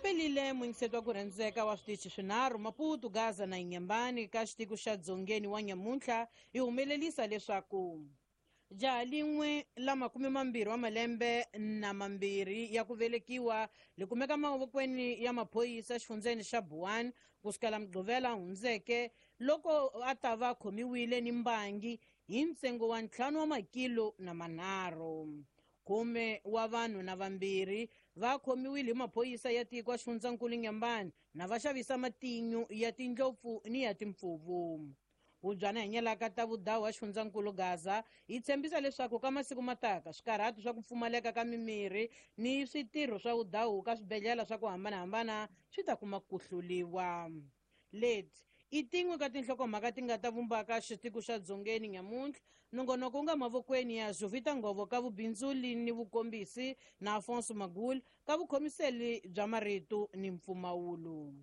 Pelile muyingiseti wa ku rhandzeka wa switichi swinharhu Maputo, Gaza na Inyambani ka xitiko xa Dzongeni wa nyamuntlha yi humelelisa leswaku jaha lin'we la 22 wa malembe na mambirhi ya ku velekiwa li kumeka mavokweni ya maphorisa exifundzeni xa Buwani ku sukela Mugqivela hundzeke loko a ta va khomiwile ni mbangi hi ntsengo wa 5 wa makilo na manharhu. 10 wa vanhu na vambirhi va khomiwile hi maphorisa ya tiko exifundzankulu Nyambani na va xavisa matinyu ya tindlopfu ni ya timpfuvu. Hubyana hinyelaka ta vudawu exifundzankulu Gaza yi tshembisa leswaku ka masiku mataka swikarhati swa ku pfumaleka ka mimirhi ni switirho swa vudawu ka swibedhlele swa ku hambanahambana swi ta kuma ku hluliwa. Leti i tin'we ka tinhlokomhaka ti nga ta vumbaka xitiko xa Dzongeni nyamuntlha. Nongonoko wu nga mavokweni ya Jovita Ngovo ka vubindzuli ni vukombisi na Afonso Magula ka vukhomiseli bya marito ni mpfumawulo.